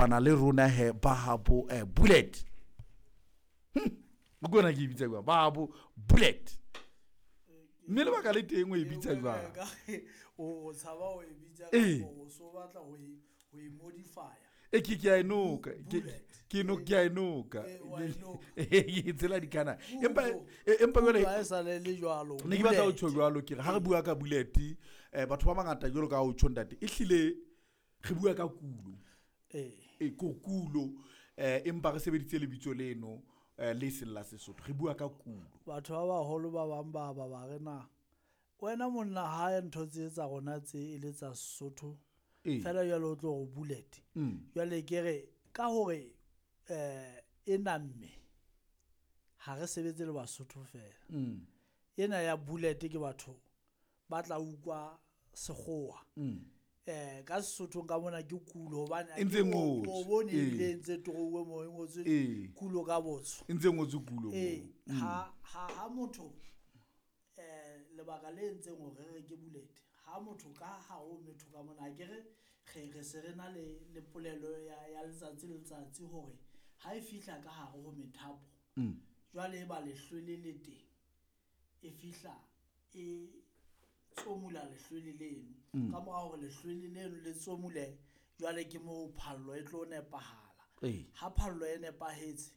Kopana le rona he ba habo bullet. Ke ke e bitsa jwang? Ba habo bullet. Mme lebaka le teng o e bitsa jwang? O tshaba ho e bitsa o so batla ho e ho e modify-a. E ke a e noka. Ke no ke a e noka. Ke tsela dikana. Empa empa jwale ha e sa le le jwalo. Ne ke batla ho tjho jwalo ke re ha re bua ka bullet, batho ba bangata jwalo ka ha o tjho ntate, e hlile re bua ka kulo. E ko kulo, empa re sebeditse lebitso leno le seng la Sesotho, re bua ka kulo. Batho ba baholo ba bang ba ba ba re na wena monna ha ntho tse tsa rona tse e le tsa Sesotho fela jwale o tlo re bullet. Jwale ke re ka hore e namme ha re sebetse le Basotho fela. Ena ya bullet ke batho ba tla utlwa sekgowa. Ka Sesothong ka mona ke kulo hobane E ntse ngotswe. O bone ebile e ntse touwe moo e ngotswe kulo ka botsho. E ntse ngotswe kulo. Ha ha ha motho lebaka le entseng hore re ke bullet, ha motho ka ha o metho ka mona ke re re se re na le le polelo ya letsatsi le letsatsi hore ha e fihla ka hare ho methapo, jwale e ba lehlwele le teng, e fihla e tsomula lehlwele leno. Ka mora hore lehlwele leno le tsomule, jwale ke moo phallo e tlo nepahala. Ha phallo e nepahetse,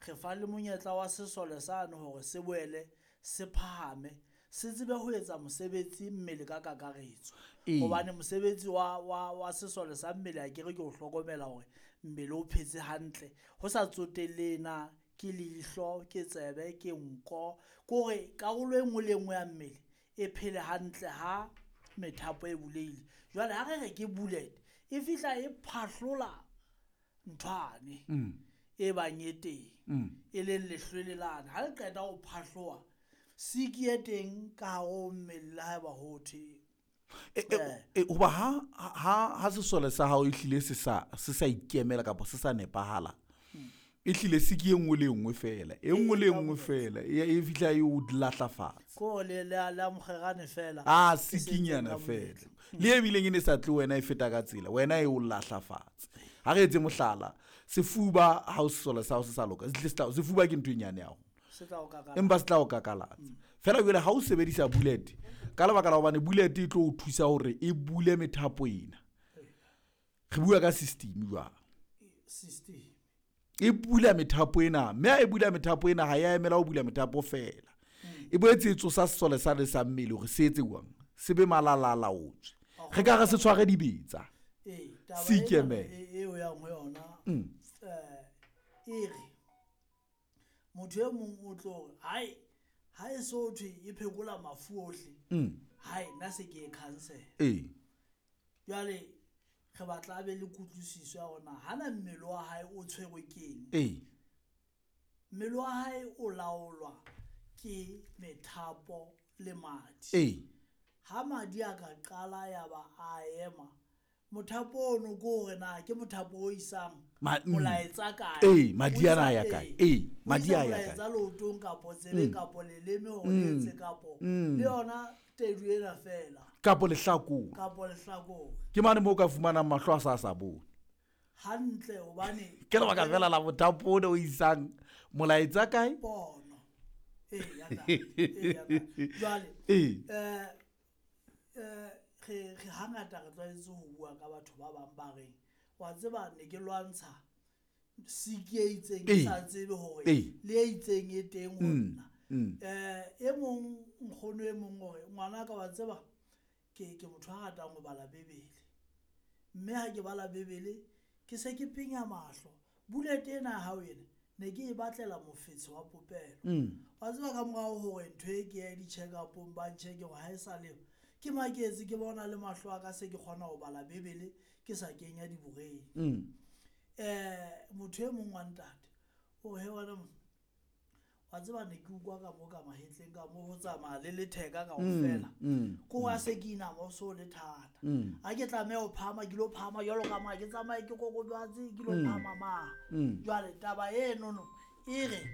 re fa le monyetla wa sesole sane hore se boele se phahame, se tsebe ho etsa mosebetsi mmele ka kakaretso. Hobane mosebetsi wa sesole sa mmele a ke re ke ho hlokomela hore mmele o phetse hantle, ho sa tsotelle na ke leihlo, ke tsebe, ke nko, ke hore karolo e nngwe le e nngwe ya mmele e phele hantle ha methapo e bulehile. Jwale ha re re ke bullet, e fihla e phahlola nthwane e bang e teng, e leng lehlwele lane. Ha le qeta ho phahloha, siki e teng ka hare ho mmele le haeba ho thwe Hoba ha sesole sa hao e hlile se sa ikemela kapa se sa nepahala, e hlile siki e nngwe le e nngwe fela, e nngwe le e nngwe fela e fihla e o lahla fatshe. Ko le le amogerane fela. A sikinyana fela. Le e bileng e ne sa tle wena e feta ka tsela, wena e o lahla fatshe. Ha re etse mohlala, sefuba ha o sesole sa hao se sa loka, sefuba ke ntho e nyane haholo. Empa se tla o kakalatsa. Fela jwale ha o sebedisa bullet, ka lebaka la hobane bullet e tlo o thusa hore e bule methapo ena. Re bua ka system jwang? System. E bula methapo ena, mme ha e bula methapo ena ha ya emela ho bula methapo fela. E boetse e tsosa sesole sa le sa mmele hore se etse jwang? Se be malalalaotswe. Re ka re se tshware dibetsa. Se ikemele. Eo yang ho yona, e re motho e mong o tlo re hai ha e so thwe e phekola mafu ohle, hai nna se ke e cancel. Jwale re batla a be le kutlwisiso ya hore na hana mmele wa hae o tshwerwe keng. Mmele wa hae o laolwa ke methapo le madi. Ha madi a ka qala ya ba a ema, mothapo ono ke hore na ke mothapo o isang molaetsa kae? Madi ana a ya kae? Madi a ya kae? Molaetsa leotong kapo tsebeng kapo leleme hore le etse kapo le yona tedu ena fela. Kapo lehlakore. Kapo lehlakore. Ke mane moo ka fumanang mahlo a sa bone. Hantle hobane ke lebaka fela la mothapo o isang molaetsa kae? Pono. Ya Jwale re hangata re tlwaetse ho bua ka batho ba bang ba reng wa tseba ne ke lwantsha siki e itseng ke sa tsebe hore le e itseng e teng ho nna. E mong nkgono e mong hore ngwana ka wa tseba ke motho a ratang ho bala Bibele. Mme ha ke bala Bibele ke se ke penya mahlo. Bullet ena ya hao ena ne ke e batlela mofetshe wa popelo. Wa tseba ka morao hore ntho e ke ya di-check up-ong ba ncheck hore ha e sa le ke maketse ke bona le mahlo a ka se ke kgona ho bala Bibele ke sa kenya diboreng. Motho e mong wa ntate o he wena wa tseba ne ke utlwa ka mo ka mahetleng ka mo ho tsamaya le letheka kaofela. Ko wa se ke inama o so le thata. Ha ke tlameha ho phahama ke lo phahama jwalo ka ma ke tsamaye ke kokobetse ke lo phahama ma. Jwale taba eno no e re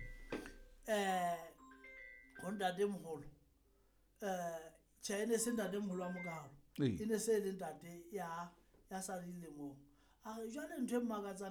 ho ntate moholo tjhe e ne se ntate moholo wa mokalo. E ne se le ntate ya sa dilemong. A re jwale ntho e mmakatsang